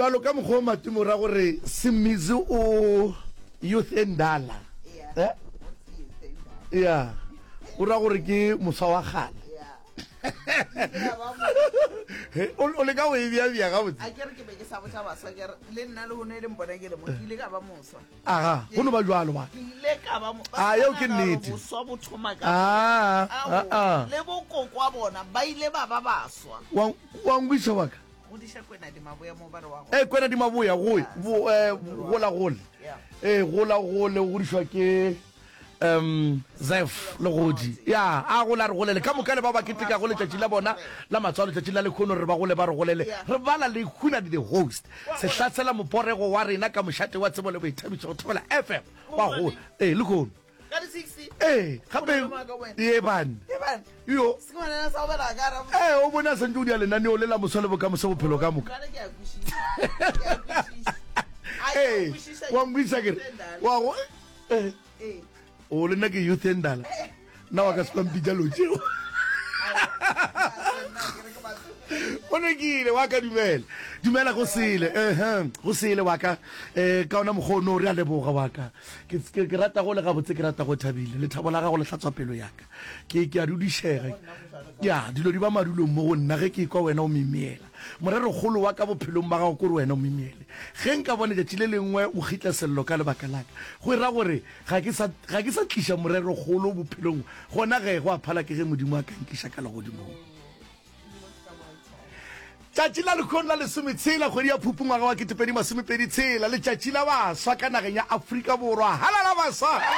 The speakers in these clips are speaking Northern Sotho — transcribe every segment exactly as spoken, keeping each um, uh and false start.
Bjalo ka mokgwa o Matimo ra gore Semizi o youth e ndala. Yeah. Eh? Ya. O ra gore ke moswa wa kgale. Yeah. Ke ba mo- He, O o leka go e bea-bea gabotse. A ke re ke be ke sa botša baswa ke re le nna le hono e le mpona ke le mo ke ile ka ba moswa. Aga, go no ba jwalo ba. Ke ile ka ba mo. Ah, yeo ke Ba nagana gore nnete. Boswa bo thoma ka. Ah, ah, ah. Le bokoko bona ba ile ba ba baswa. Wa wa nkwiša wa ka. Godiša Kwena di Maboya mo ba re wa go. Eh, Kwena di Maboya go bo eh gola gole. Yeah. Eh, gola gole o godišwa ke um Zef Legodi. Ya, a gola re golele ka moka le ba ba ketekago letšatši la bona la matswalo letšatši la lekhono re ba gole ba re golele. Yeah. Re bala le Huna di the host. Sehlasela moporego wa rena ka mošate wa tsebo le boithabišo go Thobela F M. Wa go eh lekhono. Ka di sixty. Eh, gape Go na le maaka wena. ye bane. Ke bane. Yo. Se ke ngwanana sa go bela ka ra. Eh, o bona sentse o dia lenaneo le la moswa le bokamoso bophelo ka moka. Jwale ke a kwešiša. Ke a kwešiša. A ke a Ee, kwešiša. wa nkwešiša ke re wa go eh, Ee. o le nna ke youth e ndala nna wa ka se kwampitša lo tšeo o nekile wa ka dumela dumela go sele ehe go sele wa ka um ka ona mokgwa ono re a leboga wa ka ke ke- ke rata go le gabotse ke rata go thabile lethabo la gago le hlatswa pelo ya ka ke ke a dudišega ya dilo di ba madulong mo go nna ge ke kwa wena o mimiela morerokgolo wa ka bophelong ba gago kore wena o mimiele ge nka bona letšatši le lengwe o kgitla sello ka lebaka la ka go e ra gore ga ke sa ga ke sa tliša morerokgolo bophelong gona ge go a phala ke ge modimo a ka nkiša ka legodimong tšatši la lekgong la lesometshela kgwedi ya phupu ngwaga wa ketepedi masomepedi tshela letšatši la baswa ka nageng ya Afrika Borwa halala baswa Ya,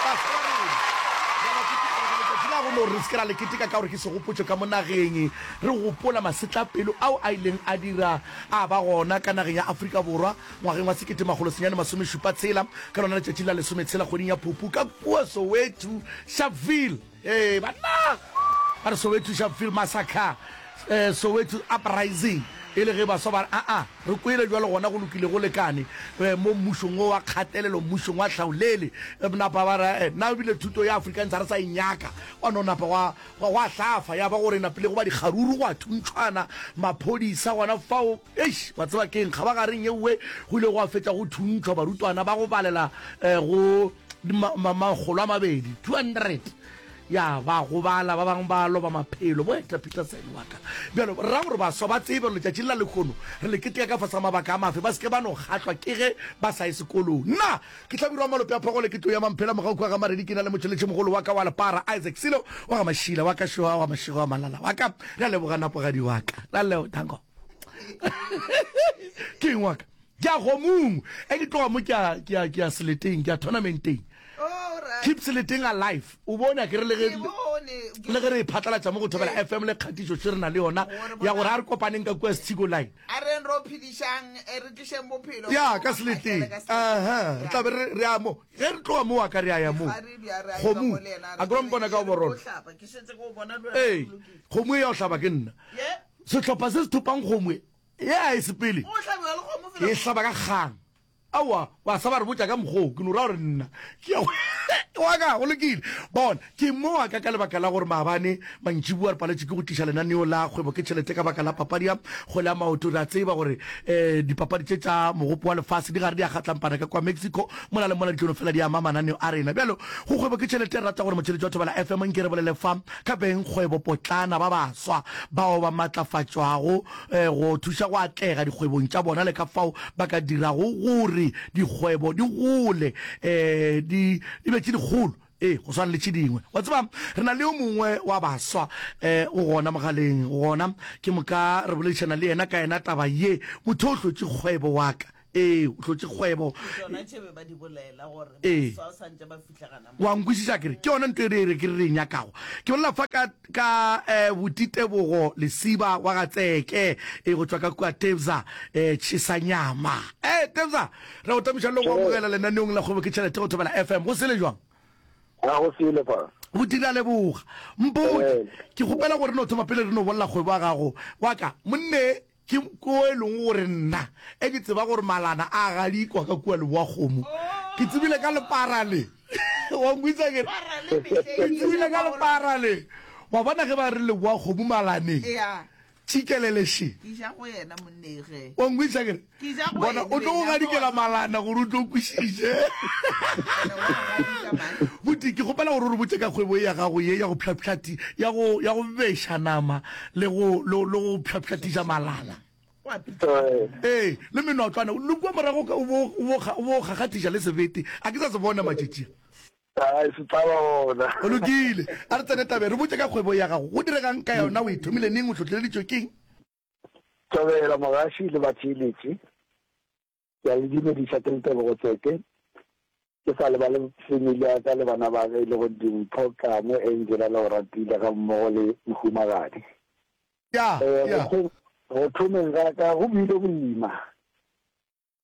baswa ba rena. Ya, ba keteka gore letšatši la go no re se ke ra le keteka ka gore ke segopotšo ka mo nageng re gopola masetlapelo ao a ileng a dira a ba gona ka nageng ya Afrika Borwa ngwageng wa sekete makgolo senyane masomešupa tshela ka lona letšatši la lesometshela kgweding ya phupu ka kua Soweto Sharpeville ee banna ba re Soweto Sharpeville massacre eh, Soweto uprising e le ge baswa ba re aa re kwele jwalo gona go lokile go lekane eh, mo mmušong o wa kgatelelo mmušong wa hlaolele Eh, napa ba re eh, nna ebile thuto ya Afrikaans ga re sa e nyaka wa no napa gwa gwa gwa hlafa ya ba gore napile go ba dikgaruru go a thuntšhwana maphodisa gona fao eish wa tseba keng kgabagareng yeuwe go ile go fetša go thuntšhwa barutwana ba go balela eh, go ma- ma- makgolo a mabedi two hundred ya ba gobala ba bangwe ba loba maphelo bo Hector Peterson wa ka bjalo ra gore baswa ba tsebe gore letšatši la lekgono re le keteka ka fase ga mabaka a mafe ba seke ba no kgahlwa ke ge ba sa ye sekolong nna ke hlabirwa malope a phogole ke tlo ya mamphela mogau kwa ga maredi ke na le motšheletše mogolo wa ka wa lepara Isaac Silo wa ga Mašila wa ka šoa wa mašego wa malala wa ka re a leboga napogadi wa ka ra leo thanko ke eng wa ka ke a kgomong e ke tloga mo ke a- ke a ke a seleteng ke a tournamenteng All right. keep seleteng alive o bone a ke re le ge Ke bone. le ge re e phatlalatša mo go Thobela F M le kgatišo še re na le yona ya gore a re kopaneng ka kua Setsiko line A re ro phedišang eh, re tlišeng bophelo. ya ka seleteng Ka seleteng. aha re tla be re re ya mo ge re tloga mo wa ka re a ya mo Ga re bja, re a ya kgomo mo le yena, re a ke wa mpona ka re overall tlo hlapa. Ke šetše ke o bona le wena ee o lokile. kgomo e ya go hlaba ke nna Ye? sehlopha se se thopang kgomo e ye a e sepele O hlabiwa le kgomo fela. e hlaba ka kgang aowa wa sa ba re botša ka mokgoo ke no ra gore nna ke ya wa ka go lokile bona ke mo wa ka ka lebaka la gore maabane mantšiboa re paletše ke go tliša lenaneo la kgwebo ke tšhelete ka baka la papadi ya kgwele ya maoto re a tseba gore um dipapadi tše tša mogopo wa lefase di gare di a kgatlampana ka kwa Mexico mola le mola di tlo no fela di ama mananeo a rena bjalo go kgwebo ke tšhelete re rata gore motšheletši wa Thobela F M nke re bolele fa ka beng kgwebo potlana ba baswa bao ba matlafatšwago eh, go thuša go atlega dikgwebong tša bona le ka fao ba ka dirago gore dikgwebo di gole eh, di di be tše dikgolo ee go swana le tše dingwe wa tseba re na le yo mongwe wa baswa eh, o gona mogaleng gona ke moka re boledišana le yena ka yena taba ye motho o hlotše kgwebo wa ka ee o hlotše kgwebo Tsona tše be ba di bolela gore Ee. baswa santse ba fihla gana mo. wa nkwešiša kere ke yona ntho e re re ke re re e nyakago ke bolela fa ka ka eh, botitebogo lesiba wa ga tseke e go tšwa ka kua Tebza eh, Tšhesanyama eh Tebza re go tamiša le go amogela lenaneong la kgwebo ke tšhelete go Thobela F M go sele jwang ga go sele fa go dira leboga mpotse Ee. ke kgopela gore no thoma pele re no bolela kgwebo ya gago wa ka monne ke ko e leng gore nna e ke tseba gore malana a gadikwa ka kua leboa kgomo ke tsebile ka lepara le wa nkwitsa ke Para le mehleng ke tsebile ka lepara le wa bona ge ba re leboa kgomo malaneng Yeah. Tšikelele še. Ke ja go yena monneng ge. Wa nkwešiša ke re? Ke ja go Bona, ene o tlo go bena, gadikela malana gore o tlo kwešiše. Wena wa gadika man. Buti, ke kgopela gore o re botše ka kgwebo ye ya gago ye ya go pšhapšhati, ya go, ya go beša nama le go, le, le go pšhapšhatiša malana. Wa pitša. Ee, le menotlwana. Le kua morago ka o bo, o bo, o bo kgakgathiša le sebete. A ke sa se bona matšatši a. Ai, se tla ba gona. Go lokile. A re tsene tabeng. Re botše ka kgwebo ya gago. Go direga'ng ka yona? O e thomile neng? O hlohleleditšwe ke'ng? Thobela, Mogaši le batheeletši. Ke a le dumediša, ke le Tebogo Tseke. Ke sa lebale family ya ka le bana ba ka e lego Dimpho, Kamo, Angela le Oratile gammogo le mohumagadi. Ya, Eh, ya. go go thomeng ga ka go bile boima.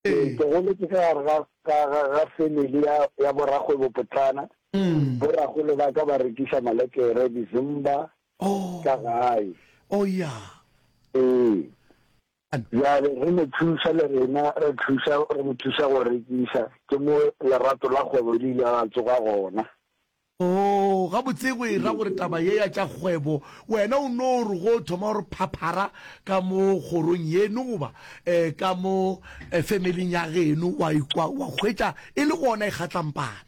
Ee. Ke goletše ka gare ga, ga, ga, ga family ya, ya borakgwebopotlana. Mm. Borakgolo ba ka ba rekiša malekere, dizimba Oh. ka gae. Oh, ya. Ee. An. Bjale re mo thuša le rena, re thuša, re mo thuša go rekiša. Ke mo lerato la kgwebo le ile la tsoga gona. Oo, gabotse go e ra gore taba ye ya tša kgwebo, wena o no re go thoma gore phaphara ka mo kgorong yeno goba um ka mo familing ya geno, wa ikwa, wa hwetša e le gona e kgatlampana.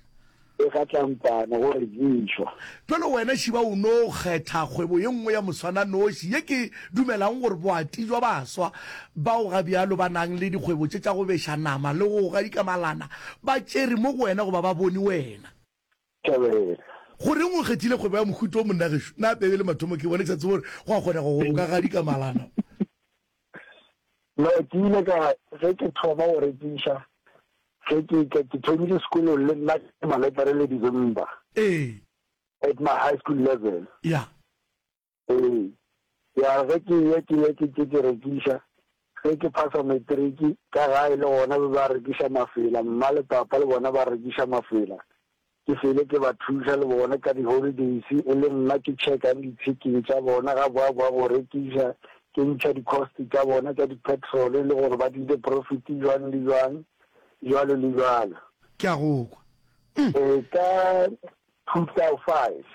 E kgatlampana go rekišwa. Bjalo wena Šiba o no kgetha kgwebo ye nngwe ya moswananoši ye ke dumelago gore boati bja baswa bao ga bjalo ba nang le dikgwebo tše tša go beša nama le go gadika malana ba tšere mo go wena goba ba bone wena. Thabela. Goreng o kgethile kgwebo ya mohuta wo monna gešo? Na pebe le mathomo ke bone ke sa tsebe gore go a kgonega gore o ka gadika malana. No, ke ile ka ge ke thoma go rekiša, ge ke ke, ke thomile sekolong le nna ke maletere le December. Ee. At my high school level. Ya. Ee. Ya ge ke ya ke ya ke ke ke rekiša, ge ke phasa matric ka gae le gona be ba rekiša mafela, mma le papa le bona ba rekiša mafela. Ke fele ke ba thuša le bona ka di-holidays, e le nna ke checkang di-picking tša bona ga boa boa go rekiša, ke ntšha di-cost tša bona tša di-petrol le gore ba tlile profit jwang le jwang, jwalo le jwalo. Ke a go kwa. Mm. Ee, ka two thou five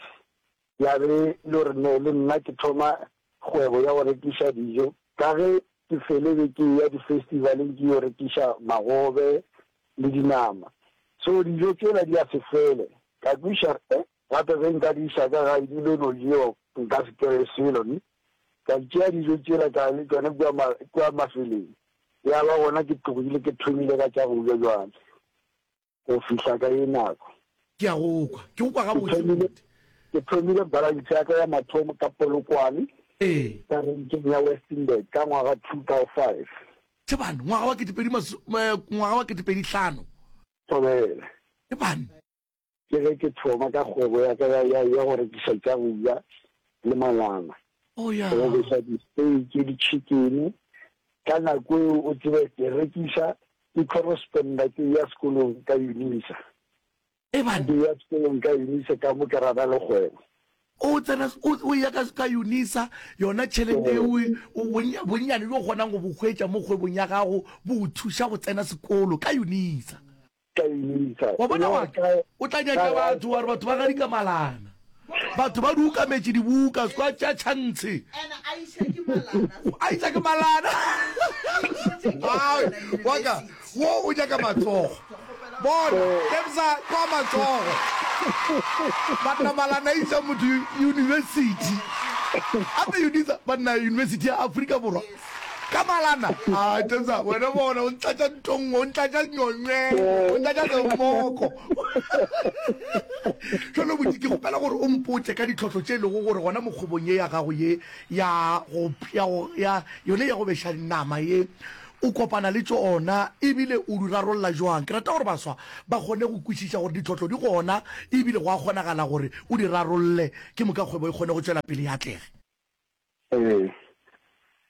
ya be le gore ne le nna ke thoma kgwebo ya go rekiša dijo, ka ge ke fele be ke eya di-festivaleng ke yo rekiša magobe le dinama. So dijo tšela di a se fele. Ka kweša re, eh, gape ge nka di iša ka gae di lo no jewa nka se kry-e selo ne. Ka tšea dijo tšela ka ya le tšona kua ma, kua mafeleng. Ya ba gona ke tlogile ke thomile ka tša go ja bjale go fihla ka ye nako. Ke a go kwa. Ke go kwa Ke gabotse, thomile, Moruti. ke thomile branch ya ka ya mathomo ka Polokwane, Ee. ka renkeng ya Westenburg ka ngwaga two thou five. Tšebane, ngwaga wa ketepedi maso, eh, ngwaga wa ketepedi hlano. Thobela. Tšebane. Ke ge ke thoma ka kgwebo ya ka ya, ya, ya go rekiša tša go ja le malana. Oh, ya. Go beša di-steak, di-chicken. Ka nako eo o tsebe ke rekiša, ke corresponder ke ya sekolong ka Unisa. Ebane. Ke ya sekolong ka Unisa ka mo ke rata le kgwebo. O tsena, o, o eya ka, ka Unisa, yona tšhelete eo o, bonnya, bonnyane bjo o kgonang go bo hwetša mo kgwebong ya gago bo o thuša go tsena sekolo ka Unisa. Ka Unisa. Wa bona E le wa gore ka, o tla ka nyatša gae. batho, wa re batho ba gadika malana. Batho ba di ukametše dibuka, se kwa tšea tšhantshe. Ene a iša ke malana. A iša ke malana. A išitše ke Ai, malana wa ka, university. wo o nyaka matsogo. Ke kgopela Bona, Kebsa, kwa matsogo. Banna malana a iša motho university. Gape Unisa, banna University ya Afrika Borwa. Ka malana. Ai, Kebsa, wena bona, o ntlatša ntong, o ntlatša nyonywe, o ntlatša semoko. Jwale Buti, ke kgopela gore o mpotše ka ditlhohlo tše e lego gore gona mo kgwebong ye ya gago ye ya go, ya go, ya yone ya go beša nama ye, o kopana le tšona ebile o di rarolla jwang? Ke rata gore baswa ba kgone go kwešiša gore ditlhohlo di gona ebile go a kgonagala gore o di rarolle, ke moka kgwebo e kgone go tšwela pele e atlege. Ee,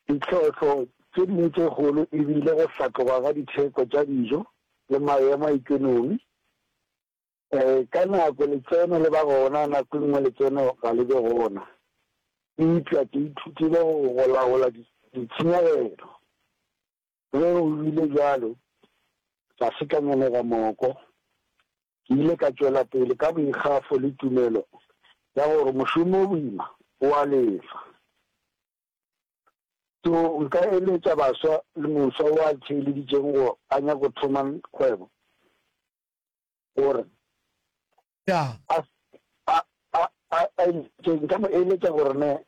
ditlhohlo tše dingwe tše kgolo e bile go hlatloga ga ditheko tša dijo le maemo a ekonomi. Ee, ka nako letseno le ba gona, nako e nngwe letseno ga le be gona. Eupša ke ithutile go go laola ditshenyegelo. Ge go bile bjalo, ga se ka ngenega moko. Ke ile ka tšwela pele ka boikgafo le tumelo ya gore mošomo o boima o a lefa. So nka eletša baswa le moswa wo a theeleditšeng go a nyaka go thoma kgwebo gore Ya. a, a, a, a, a eletše, nka mo eletša gore ne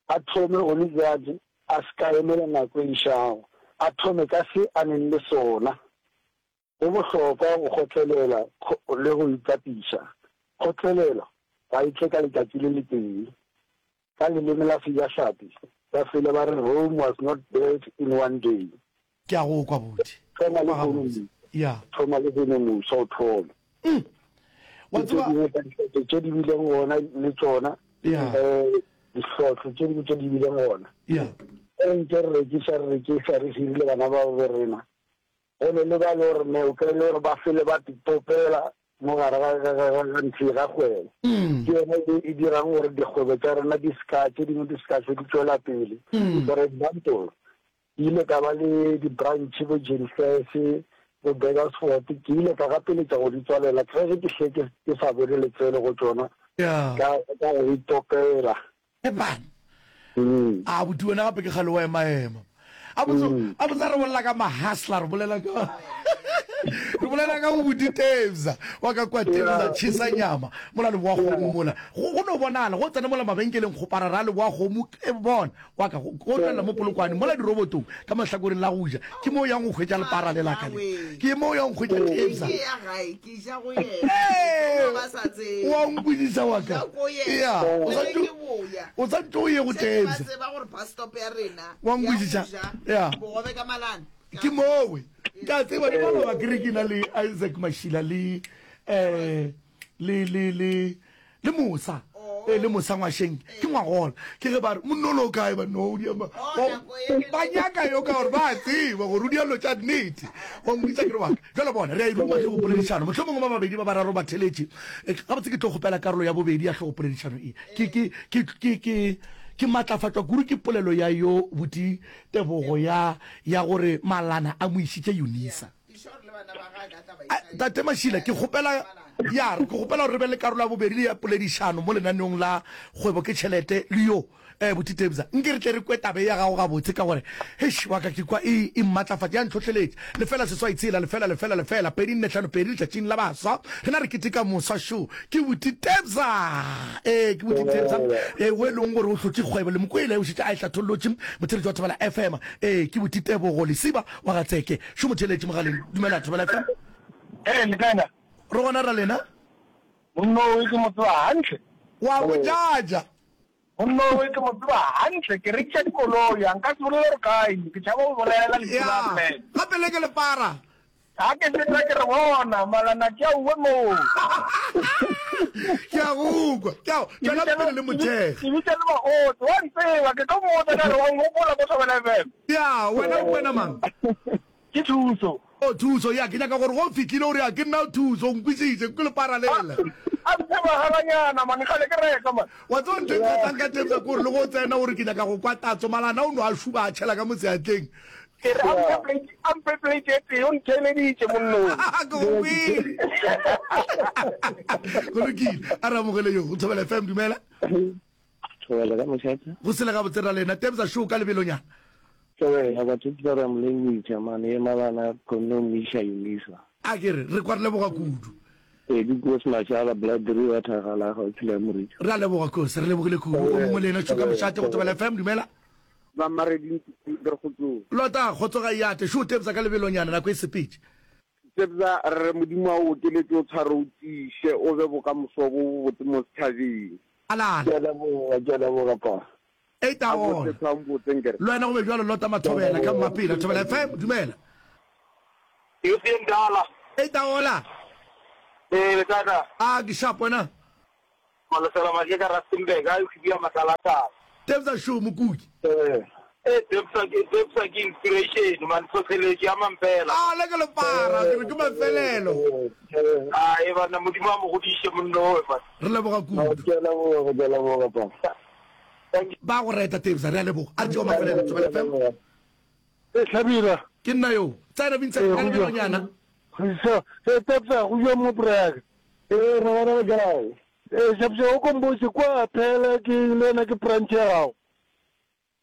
a thome gone bjale, a se ka emela nako e išago, a thome ka se a neng le sona. Go bohlokwa go kgotlelela le go itapiša. Kgotlelelo ga e tle ka letšatši le letee. Ka leleme la Sejahlapi, ba fele ba re Rome was not built in one day. Ke a go kwa, buti. Thoma Kwa lehono, gabotse. Ya. Thoma lehono, moswa, o thome. Mm. Wa Ke tše tseba. dingwe tša dihlotlo tše di bileng gona le tšona, Ya. um dihlotlo tše dingwe tše di bileng gona. Ya. Ge re ntše re rekiša, re rekiša, re hirile bana babo bo rena, go ne le ba le gore ne o kry-e le gore ba fele ba topela mo gare ga, ga, ga, ga, ga ntho ga kgwebo. Mm. Ke yona e, e dirang gore dikgwebo tša rena di ska, tše dingwe di ska hlwe di tšwela pele. Mm. For example, ke ile ka ba le di-branch bo Jenfes, bo Burgersfort, ke ile ka gapeletša go di tswalela ka ge ke hle ke, ke sa bone letseno go tšona Ya. ka, ka go itopela. Eban. Mm. A buti wena gape ke kgale wa emaema. A botse, Mm. a botse re bolela ka mahustler, re bolela ka re bolela ka go buti Tebza wa ka kwa Tebza Yeah. chisa nyama mola le boa kgomo Yeah. mola. Go go no bonala go tsena mola mabenkeleng go parara le boa kgomo e bona wa ka go go tlela mo Polokwane mola dirobotong ka mahlakoreng la go ja ke mo yang go hwetša lepara le la ka le. Ke mo yang go hwetša Tebza. Ke ya gae, ke ja go yena. Ee, Ke no ba sa tsebe. wa nkwešiša wa Ke ka. ja ko yena. Ya, o Le sa ge ntše ke boya. o sa ntše o ye go Šetše ba Tebza. tseba gore bus stop ya rena Wa ya go nkwešiša? ja Ya. bogobe ka malana. Ke mowe. Ke a tseba ke maloba ke re ke na le Isaac Mashila le eh le le le le Mosa. Eh le Mosa ngwasheng ke ngwagola. Ke ge ba re monna o kae ba no o di ama. Oh, nako e le- Ba nyaka yo ka gore ba a tseba gore o di dilo tša nnete. Wa nkwešiša ke re wa ka. Jwale bona re a e ruma hlogopoledišano. Mohlomongwe ba babedi ba bararo ba theletše. Eh, Gabotse ke tlo kgopela karolo ya bobedi ya hlogopoledišano e. Ke ke ke ke ke ke matlafatšwa kudu ke polelo ya yo buti Tebogo ya ya gore Malana a mo išitše Unisa. Ke sure le bana ba gagwe ka tla ba A, iša Tate Mashila, ke kgopela ya ke kgopela gore re be le karolo ya bobedi ya poledišano mo lenaneong la Kgwebo ke Tšhelete le yo eh buti Tebza. Nke re tle re kwe taba ye ya gago gabotse ka gore heish wa ka ke kwa e e mmatlafatša ya ntlhohleletša. Lefela seswai tshela lefela lefela lefela pedi nne hlano pedi letšatšing la baswa rena re keteka moswa šo ke buti Tebza. Ee ke buti Tebza ee o e leng gore o hlotše kgwebo le mokwele o šetše a e hlathollotše motheletši wa Thobela F M. Ee ke buti Tebogo Lesiba wa ga Tseke šo motheletši mogaleng. Dumela Thobela F M. Ee, le kae na? Re gona ra lena. Monna o ke mo tseba hantle. Wa go jaja. Monna o ke mo tseba hantle, ke rekiša dikoloi, a nka se bolele gore kae, ke tšhaba go bolela lefu la Ya, mme. gape le ke lepara. Ga ke feta ke re bona, malana ke a uwe moo. Ke a go kwa. Ke a Ke tšwela bitša pele le le mothekge. ke bitša le baotse, wa ntseba, ke tlo mmotsa ka re wa nkgopola ko Thobela F M. Ya, wena o kwena mang? Ke Thuso. O Thuso, ya ke nyaka gore go fihlile o re ya ke nna Thuso, o nkwešiše, ke lepara lela. A mphe magalanyana man, kgale ke reka man. Wa tseba ntho e nkgahlang ka Tebza ke gore le go tsena o re ke nyaka go kwa tatso, malana o no a šuba a tšhela ka mo seatleng. Ke re a mphe plate, a mphe plate e tee, o ntheeleditše monnong. Ke go kwele. Go lokile, a re amogele yo go Thobela F M, dumela. Thobela ka mošate. Go sele gabotse ra lena Tebza show ka lebelonyana. Thobela batho ke ba mo lebohisa mane ye malana kgonne go mo iša Unisa. A ke re re kwa re leboga kudu. Ee, ke Koos Mashala, Blood River, Thagala, gaufi le Moriti. Re a leboga Koos, re lebogile kudu. O mongwe le yena Tšhoka Mošate go Thobela F M, dumela. Ba Mareding re kgotsong. Lota, kgotso ga e ate. Šo Tebza ka lebelonyana nako e sepetše. Tebza re re Modimo a o okeletše o tshware o tiiše o be bokamoso bo bobotse mo setšhabeng. Alala. Ke a leboga, ke a leboga pa. Eight A hour. botse tshwang botse nkere. Le wena go be bjalo Lota Mathobela ka Mmapela Thobela F M, dumela. Youth ye mdala. Eight hour. Ee, le kae na? A ke sharp wena. Malesela Maje ka Rustenburg, a e ya matlalatlala. Tebza show mokuki. Eh. Eh, Tebza ke Tebza ke inspiration man, tlhotlheletšo ya mampela. A le ke lepara, ke re ke mafelelo. A e bana Modimo a mo godiše monno owe man. Re leboga kudu. Ke a leboga, ke a leboga pa. Ba go reta Tebza, re a leboga. A re tšeo mafelelo Thobela F M. E Hlabira. Ke nna yo. Tsena Vincent Ee, ka go lebelonyana. So, e Tebza go bja mo braka. Ee, re bona le kae? Ee, Shapsha o kombotse kwa phela ke le wena ke branch ya gago.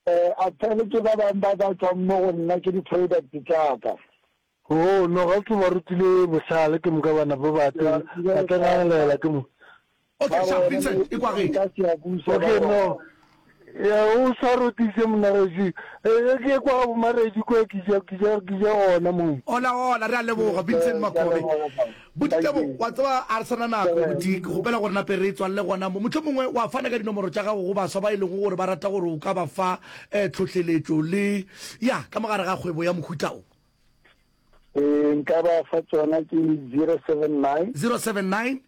Eh, Athele ke ba bang ba ba tšwang mo go nna ke di-product tša ka. Oh, no, ga ke ba rutile bohlale ke moka ba napa ba Ke ba tla rutile ba tla bohlale. ngangelela ke mo. Okay, Ba sharp bone Vincent, e kwagetše. nka Siyabuswa ba Okay, bona. no. Ya o sa rotise monna gešo. Eh, ke kwa ga bomaredi kwa ke ja ke ja ke ja gona mo. Hola hola, re a leboga Vincent Ke a Makobe. leboga baba. Buti Thank Tebo, you. wa tseba a re sana nako buti, ke kgopela gore nape re tswalele gona mo. Mohlomongwe wa fana ka dinomoro tša gago go baswa ba e lego gore ba rata gore o ka ba fa eh, tlhohleletšo le ya ka mogare ga kgwebo ya mohuta o. Eh, nka ba fa tsona ke zero seven nine zero seven nine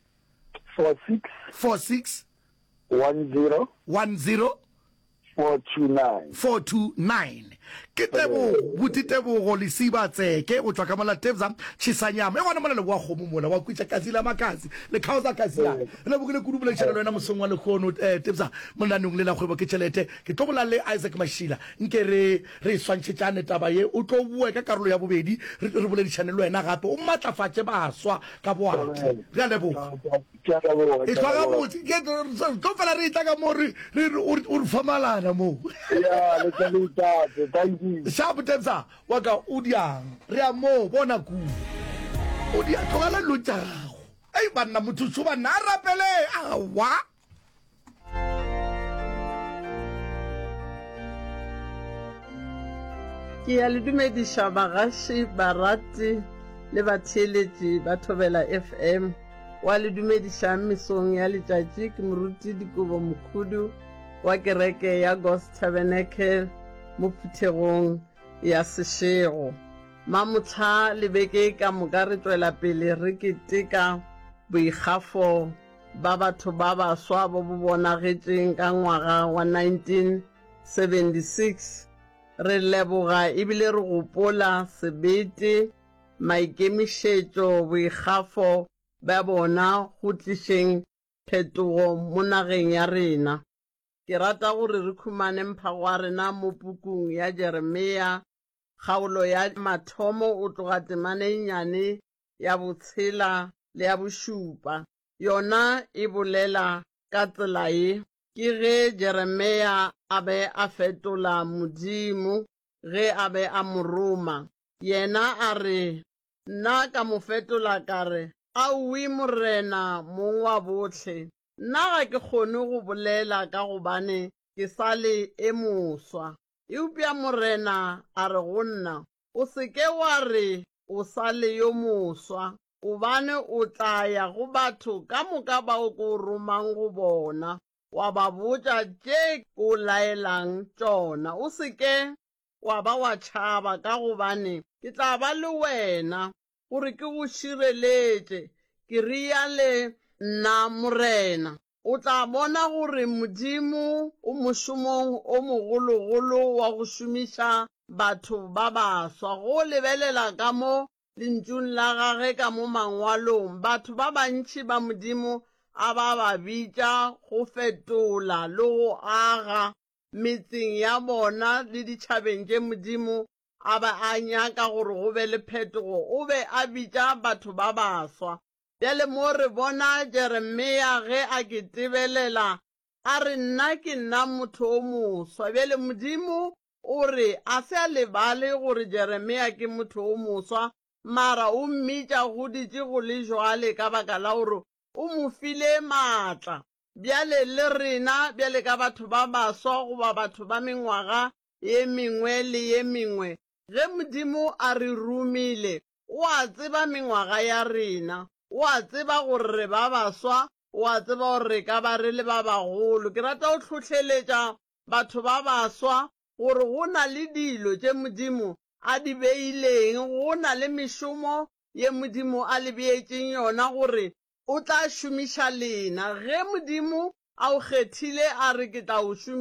four six four six one zero one zero four two nine. four two nine. Ke Tebogo, buti Tebogo Lesiba Tseke go tšwa ka mola Tebza Chisanyama. E gona mola leboa kgomo mola wa kwitša kasi la makasi le khaosa kasi la. Re lebogile kudu boledišana le wena mosong wa lehono eh, Tebza mo lenaneong le la kgwebo ke tšhelete. Ke tlo bola le Isaac Mashila nke re re swantšhetšane taba ye o tlo boe ka karolo ya bobedi re re boledišane le wena gape o matlafatše baswa ka boati. Re a leboga. Ke a leboga, E ke a hlwa leboga. gabotse ke re tlo fela re etla ka mo re re re o re o re fa malana mo. Ya, le tla le itate. Thank you. Sharp Tebza wa ka o diang re a mo bona kua o dia tlogela dilo tša gago ei banna motho šo banna a rapele awa. Ke ya le dumediša bagaši, barati le batheeletši ba Thobela F M. Wa le dumedišang mesong ya letšatši ke Moruti Dikobo Mokhudu wa kereke ya God's Tabernacle mo phuthegong ya Seshego. Mamohla le beke ka moka re tšwela pele re keteka boikgafo ba batho ba baswa bo bo bonagetšeng ka ngwaga wa nineteen seventy six. Re leboga ebile re gopola sebete, maikemišetšo, boikgafo bja bona go tlišeng phetogo mo nageng ya rena. Ke rata gore re khumane mphago wa rena mo pukung ya Jeremia, kgaolo ya mathomo o tloga temana e nnyane ya botshela le ya bošupa. Yona e bolela ka tsela ye, Ke ge Jeremia a be a fetola Modimo ge a be a mo roma. Yena a re, Nna ka mo fetola ka re, Aowi Morena Mong wa bohle, nna ga ke kgone go bolela ka gobane ke sa le e moswa. Eupša Morena a re go nna, O se ke wa re o sa le yo moswa, gobane o tla ya go batho ka moka bao ke o romang go bona, wa ba botša tše ke o laelang tšona. O se ke wa ba wa tšhaba, ka gobane ke tla ba le wena gore ke go šireletše, ke reale nna Morena. O tla bona gore Modimo o mošomong o mogologolo wa go šomiša batho ba baswa. Go lebelela ka mo Lentšung la gage ka mo Mangwalong, batho ba bantši ba Modimo a ba ba bitša go fetola le go aga metseng ya bona le ditšhabeng tše Modimo a ba a nyaka gore go be le phetogo, o be a bitša batho ba baswa. Bjale mo re bona Jeremia ge a ke tebelela a re, Nna ke nna motho o moswa. Bjale Modimo o re a se a lebale gore Jeremia ke motho o moswa, mara o mmitša goditše go le jwale ka baka la gore o mo file maatla. Bjale le rena bjale ka batho ba baswa goba batho ba mengwaga ye mengwe le ye mengwe, ge Modimo a re romile, o a tseba mengwaga ya rena, o a tseba gore re ba baswa, o a tseba gore re ka ba re le ba bagolo. Ke rata go hlohleletša batho ba baswa gore go na le dilo tše Modimo a di beileng, go na le mešomo ye Modimo a le beetšeng yona gore o tla šomiša lena. Ge Modimo a o kgethile a re ke tla o šomiša,